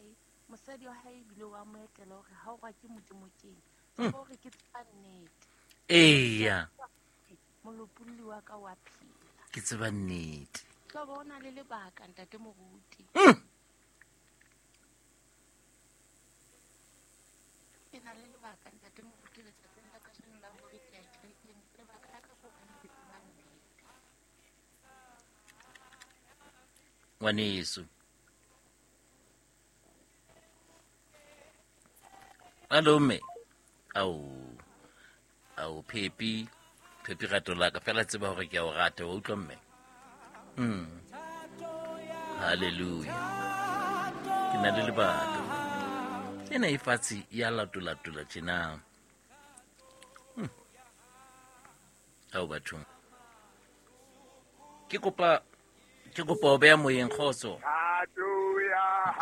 Hae, mosadi wa hae ebile wa mo etela hore ha o rwa ke Modimo keng. Tseba hore ke tseba nnete. Eya. Molopolli wa ka wa phela. Ke tseba nnete. Tlo ba o na le lebaka, ntate moruti. Ke na le lebaka, ntate moruti, letsatsing la kajeno la hore ke ya kerekeng. Lebaka la ka ke hobane ke tseba nnete. Ngwaneso. Hallo mme. Ao. Ao Phepi. Phepi rato la ka fela tseba hore ke a o rata, wa utlwa mme. Hallelujah. Ke na le lebaka. Ena e fatshe ya latolatola tjena. Ao bathong. Ke kopa o beha moyeng kgotso. Hallelujah.